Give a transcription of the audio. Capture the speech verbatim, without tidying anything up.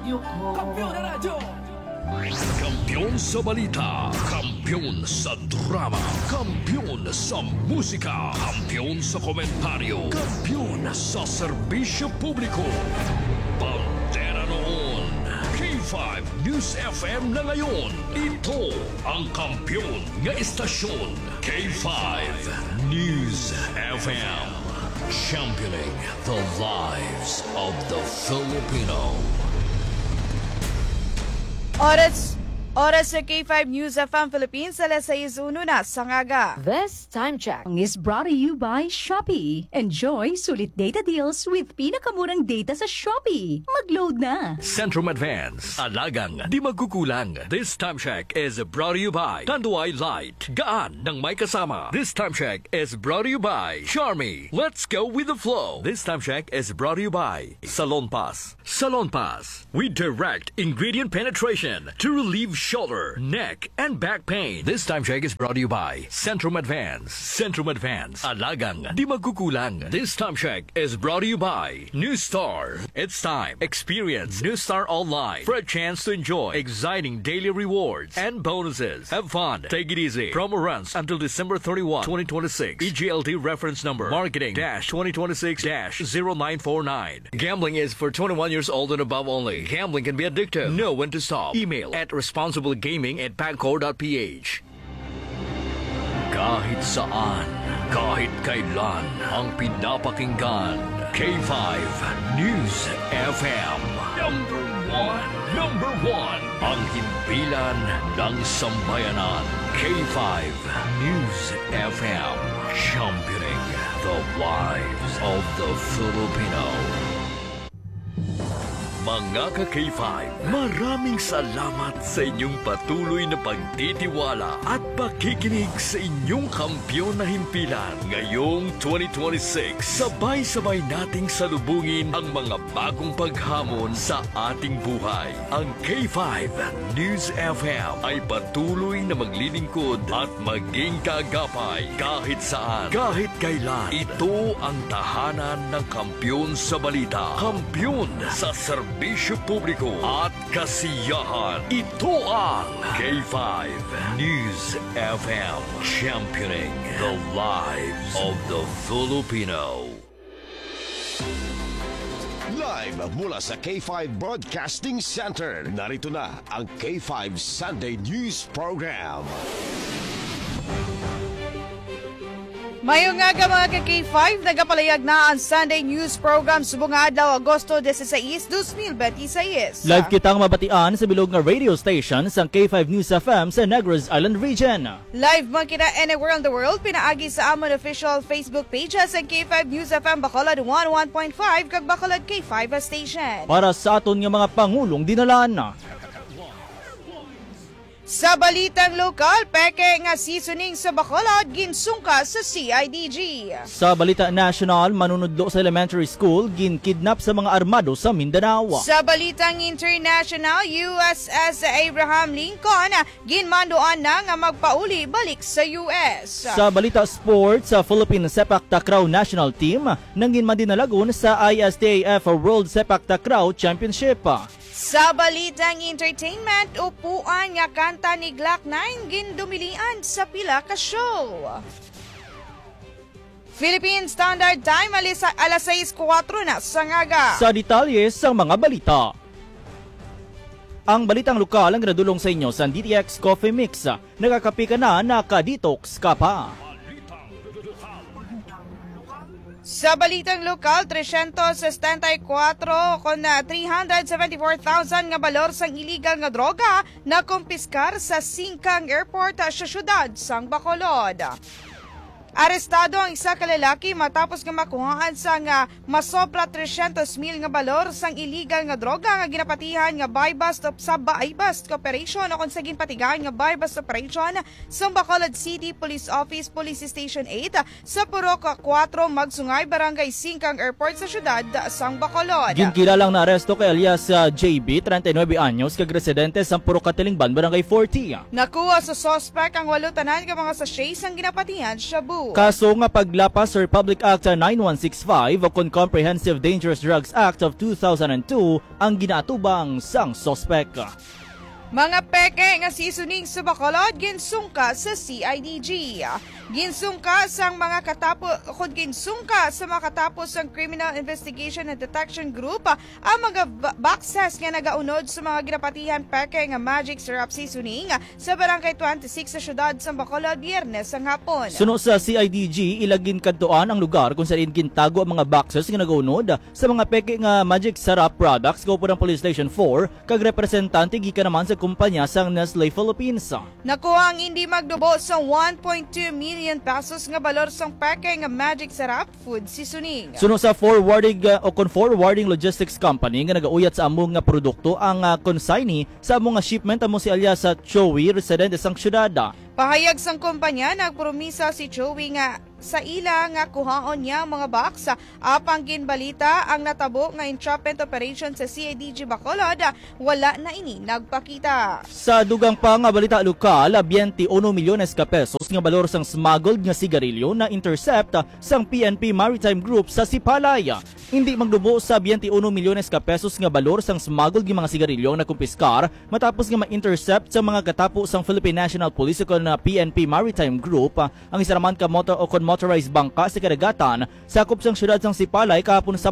Kampiyon na radyo! Kampiyon sa balita, kampiyon sa drama, kampiyon sa musika, kampiyon sa komentaryo, kampiyon sa serbisyo publiko. Bandera noon, K five News F M na ngayon. Ito ang kampiyon nga istasyon, K five News F M. Championing the lives of the Filipino. Oras, oras sa K five News F M Philippines, alas sais uno na sa aga. This time check is brought to you by Shopee. Enjoy sulit data deals with pinakamurang data sa Shopee. Mag-load na! Centrum Advance. Alagang di magkukulang. This time check is brought to you by Tanduay Light. Gaan ng may kasama. This time check is brought to you by Charmy. Let's go with the flow. This time check is brought to you by Salonpas. Salonpas. We direct ingredient penetration to relieve shoulder, neck, and back pain. This time check is brought to you by Centrum Advance. Centrum Advance. Alagang di magkukulang. This time check is brought to you by New Star. It's time. Experience New Star Online for a chance to enjoy exciting daily rewards and bonuses. Have fun. Take it easy. Promo runs until December thirty-one, twenty twenty-six. E G L T reference number marketing dash twenty twenty-six dash zero nine four nine. Gambling is for twenty-one years old and above only. Gambling can be addictive. Know when to stop. Email at responsiblegaming at pagcor dot P H. Kahit saan, kahit kailan, ang pinapakinggan, K five News F M. Number one, number one, ang himpilan ng sambayanan, K five News F M, championing the lives of the Filipino. Mga ka-K five, maraming salamat sa inyong patuloy na pagtitiwala at pakikinig sa inyong kampiyon na himpilan. Ngayong twenty twenty-six, sabay-sabay nating salubungin ang mga bagong paghamon sa ating buhay. Ang K five News F M ay patuloy na maglilingkod at maging kaagapay kahit saan, kahit kailan. Ito ang tahanan ng kampiyon sa balita, kampiyon sa serbisyo publiko at kasiyahan. Ito ang K five News F M, championing the lives of the Filipino. Live mula sa K five Broadcasting Center, narito na ang K five Sunday News Program. Mayong aga, mga ka-K five, nagapalayag na ang Sunday News Program subong nga adlaw, Agosto dieciséis, dos mil benti-sais. Live kitang mabatian sa bilog nga radio station sang K five News F M sa Negros Island Region. Live man kita anywhere in the world pinaagi sa amon official Facebook page, sa K five News F M Bacolod one oh one point five kag Bacolod K five station. Para sa aton nga mga pangulong dinalan. Sa balitang lokal, peke nga seasoning sa Bacolod ginsungka sa C I D G. Sa balita nasyonal, manunudlo sa elementary school ginkidnap sa mga armado sa Mindanao. Sa balitang international, U S S Abraham Lincoln ginmanduan na nga magpauli balik sa U S. Sa balita sports, sa Philippine Sepak Takraw National Team nanginmadinalagon sa I S T A F World Sepak Takraw Championship. Sa balitang entertainment, upuan nga kanta ni Glock nine gindumilian sa pila ka show. Philippine Standard Time, alis-, alas sais kuwatro na sa ngaga. Sa detalye sang mga balita. Ang balitang lokal ang ginadulong sa inyo sa D T X Coffee Mix. Nagakape ka na, naka-detox ka pa. Sa balitang lokal, tresyentos setenta y kuwatro kon, ah, three hundred seventy-four thousand nga balor sang iligal nga droga nakumpiskar sa Singkang Airport, ah, sa siyudad sang Bacolod. Arestado ang isa ka lalaki matapos nga makuhaan sang, ah, masobra tresyentos mil nga balor sang iligal nga droga nga ginapatihan nga buy-bust op-, sa buy-bust operation o kon sa ginpatigayon nga buy-bust operation sang Bacolod City Police Office, Police Station eight, sa Purok kuwatro, Magsungay, Barangay Singkang Airport sa siyudad sang Bacolod. Ginkilalang naaresto kay alias, ah, J B, treinta y nueve anyos, kag residente sa Purok Katilingban, Barangay forty. Nakuha sa suspek ang walo tanan nga mga sachet sang ginapatihan shabu. Kaso nga paglapas sa Republic Act nine one six five o kon Comprehensive Dangerous Drugs Act of two thousand and two ang ginaatubang sang suspek. Mga peke nga seasoning sa Bacolod ginsungka sa C I D G. Ginsungka sang mga katapo, kung ginsungka sa mga katapo sang Criminal Investigation and Detection Group ang mga ba- boxes nga nagaunod sa mga ginapatihan peke nga Magic Sarap Seasoning sa Barangay twenty-six sa siyudad sang Bacolod, Biyernes sang hapon. Suno sa C I D G, ila ginkadtuan ang lugar kung saan gintago ang mga boxes nga nagaunod sa mga peke nga Magic Sarap products kaupo ng Police Station four kag representante gikan naman sa kumpanya sang Nestle Philippines. Nakuha ang hindi magdubo sa one point two million pesos nga balor sang peke nga Magic Sarap food seasoning. Suno sa forwarding, uh, o kon forwarding logistics company nga nagauyat sa amo nga produkto ang, uh, consignee sa amo nga shipment amo si alias sa Joey, residente sang siyudad. Pahayag sang kumpanya, nagpromisa si Joey nga sa ila nga kuhaon niya ang mga box, apang ginbalita ang natabo nga entrapment operation sa C I D G Bacolod, wala na ini nagpakita. Sa dugang pa nga balita lokal, twenty-one milyones ka pesos nga balor sang smuggled nga sigarilyo na intercept sang P N P Maritime Group sa Sipalay. Hindi magdubo sa twenty-one milyones ka pesos nga balor sang smuggled nga mga sigarilyo ang nakumpiskar matapos nga ma-intercept sa mga katapo sang Philippine National Police o kon P N P Maritime Group ang isa naman ka motor o kon motorized bangka sa kadagatan sakop sang siyudad sang Sipalay kahapon sa